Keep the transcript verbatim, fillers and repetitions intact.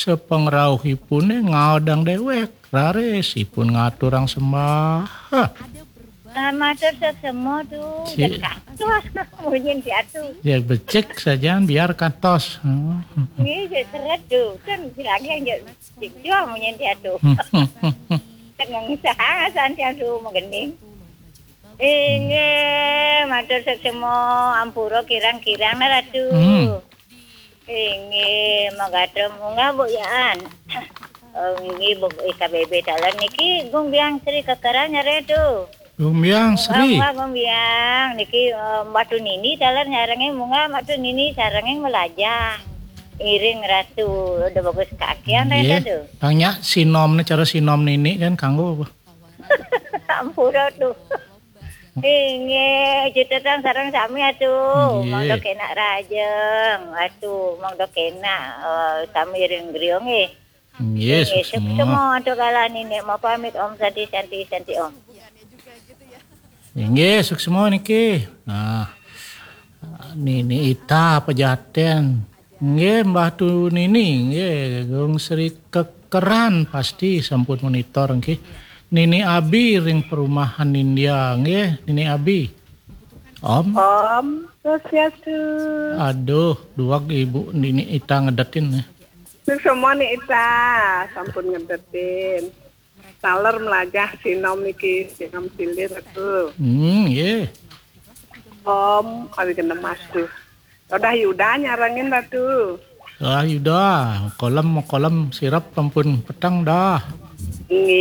Sepengrauhipune ngaodang dewek, raris ipun ngaturang sembah. Hah. Nah, matur suksma, Tu. Si- Dekat. Wah, munyin diatu. Ya, becik saja, biar kantos. Hmm. Nggih, ya, seret, Tu. Kan bilangnya ya, becik jua munyin diatu. Kan ngengsah santian, Tu, menggening. Inggih, matur suksma, ampura kirang-kirang, nah, Ratu. Hmm. Inggih, mangga munggah, Bu, yaan. Oh, inggih, Bu, I K B B taler niki, Gung Biang Sri Kekeran nyare, Tu. Gung Biang Sri. Munggah, Gung Biang. Niki, eh, Mbah Tu Nini taler nyarengin, munggah Mbah Tu Nini sarengin melajah. Iring Ratu, udah bagus kakian, Ratu. Nggih. Tanya sinomne, cara sinom nini kan kanggo apa? Ampura, Tu. Inggih, cutetan sareng sami atu. Nggih. Monggo kenak rajeng. Atu, monggo kenak, eh, sami ring griya nggih. Nggih, inggih, suksma. Suksma atu kala nini mau pamit, Om Santi, Santi, Santi, Om. Inggih, suksma niki. Nah, Nini Ita Pejaten. Nggih, Mbah Tu Nini, nggih, Gung Sri Kekeran pasti sampun monitor nggih. Nini Abi ring perumahan India nggih, Nini Abi. Om. Om Swastiastu. Aduh, duag Ibu Nini Ita ngedetin nih. Suksma Ni Ita, sampun ngedetin. Taler melajah sinom niki, sinom silih, Ratu. Hmm, nggih. Om, awi genemas tuh. Udah Yuda nyarengin, Ratu. Ah, Yuda, kolem, kolem sirep ampun peteng dah. Nggih.